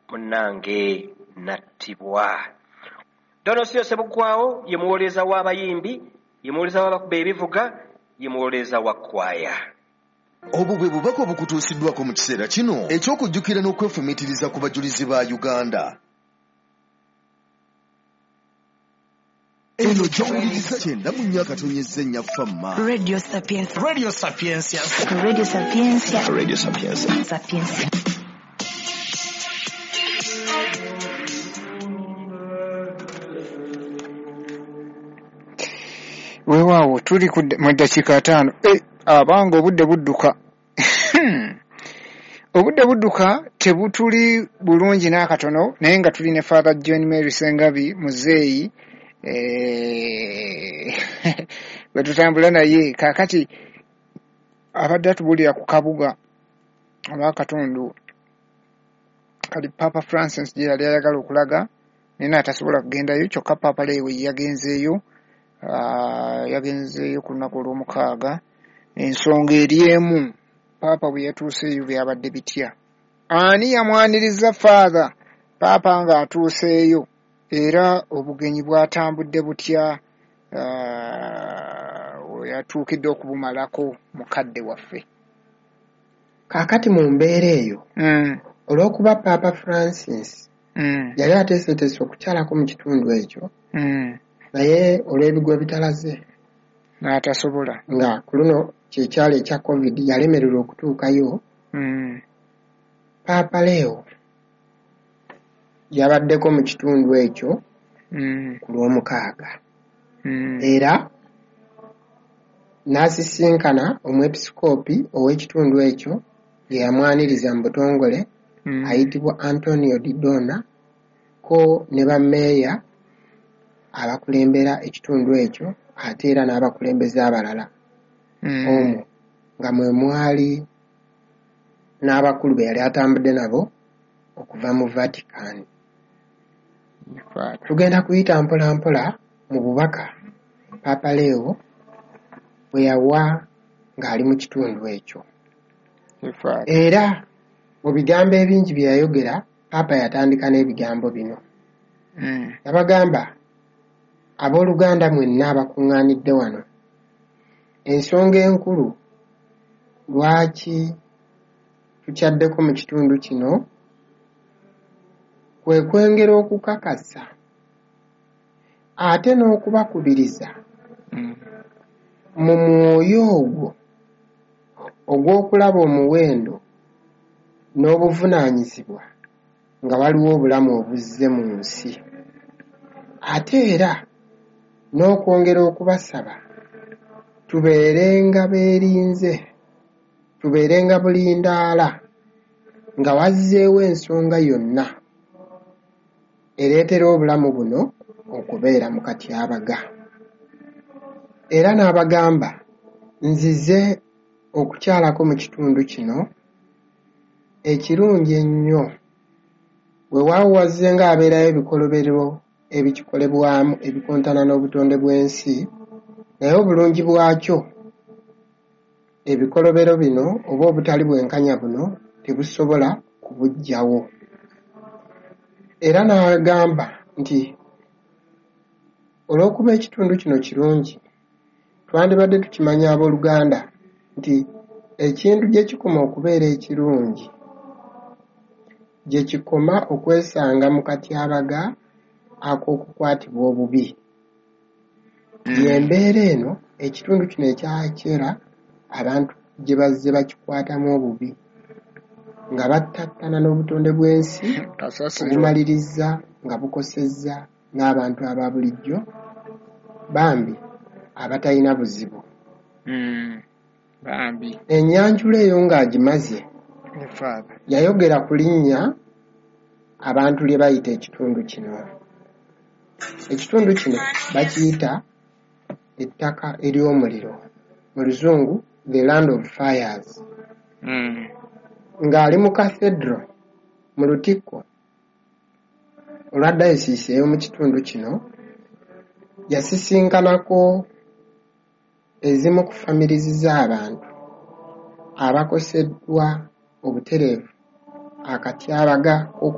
Munnange nattibwa. Donosiyo Ssebuggwawo ye muwolereza w'abayimbi, ye muwolereza w'abakuba ebivuga, ye muwolereza wa kkwaya. Obwo bwe bubaka obukutuusiddwako mu kiseera kino eky'okujjukira n'okwefumiitiriza ku bajulizi ba Uganda. Eno gy'owuliriza 94.4 Famma. Radio Sapientia. Radio Sapientia. Radio Sapientia. Radio Sapientia. Sapientia. Weewaawo tuli mu ddakiika 5. Abanga obudde budduka. Obudde budduka tebutuli bulungi n'akatono, naye nga tuli ne Father John Mary Sengabi muzeeyi bwe tutambula naye kaakati abadde atubuulira ku kabuga oba akatundu kali Papa Francis gye yali ayagala okulaga naye n'atasobola kugendayo, kyokka Papa Leo yagenzeeyo, yagenzeeyo ku lunaku olw'omukaaga. Ensonga eri emu, Paapa bwe yatuuseeyo byabadde bitya? Ani yamwaniriza Father Paapa ng'atuuseeyo? Era obugenyi bwatambudde butya we yatuukidde okubumalako mukadde waffe? Kaakati mu mbeera eyo, olw'okuba Paapa Francis yali ateeseteese okukyalako mu kitundu ekyo, naye olw'ebigwa ebitalaze n'atasobola, nga ku luno kyekyalo ekya COVID yalemererwa okutuukayo, Paapa Leo yabaddeko mu kitundu ekyo ku lw'omukaaga, era n'asisinkana omwepisikoopi ow'ekitundu ekyo ye yamwaniriza mu butongole, ayitibwa Antonio Di Donna, ko ne bammeeya abakulembera ekitundu ekyo ate era n'abakulembeze abalala, omwo nga mwe mwali n'abakulu be yali atambudde nabo okuva mu Vatican. Tugenda kuyita mpola mpola mu bubaka Papa Leo bwe yawa ng'ali mu kitundu ekyo. Era mu bigambo ebingi bye yayogera, Papa yatandika n'ebigambo bino. Yabagamba, abooluganda mwenna abakuŋŋaanidde wano, ensonga enkulu lwaki tukyaddeko mu kitundu kino kwe kwengera okukakasa ate n'okubakubiriza mu mwoyo ogwo ogw'okulaba omuwendo n'obuvunaanyizibwa nga waliwo obulamu obuzze mu nsi, ate era n'okwongera okubasaba tubeerenga beerinze, tubeerenga bulindaala nga wazzeewo ensonga yonna ereetera obulamu buno okubeera mu katyabaga. Era n'abagamba, nzize okukyalako mu kitundu kino ekirungi ennyo, weewaawo wazze ng'abeerayo ebikolobero ebikikolebwamu ebikontana n'obutonde bw'ensi, naye obulungi bwakyo ebikolobero bino oba obutali bwenkanya buno tebusobola kubuggyawo. Era n'agamba nti olw'okuba ekitundu kino kirungi, twandibadde tukimanya abooluganda nti ekintu gye kikoma okubeera ekirungi gye kikoma okwesanga mu katyabaga ak'okukwatibwa obubi. Y'embeera eno ekitundu kino ekyakyera abantu gye bazze bakikwatamu obubi nga battattana n'obutonde bw'ensi obumaliriza nga bukosezza n'abantu aba bulijjo bambi abatalina buzibu. Bambi. Ennyanjula eyo ng'agimaze, yayogera ku linnya abantu lye bayita ekitundu kino. Ekitundu kino bakiyita ettaka ery'omuliro, mu Luzungu the land of fires. Ng'ali mu cathedral mu lutikko olwa dayosiisi ey'omu kitundu kino, yasisinkanako ezimu ku famirizi z'abantu abakoseddwa obutereevu akatyabaga k'okukwatibwa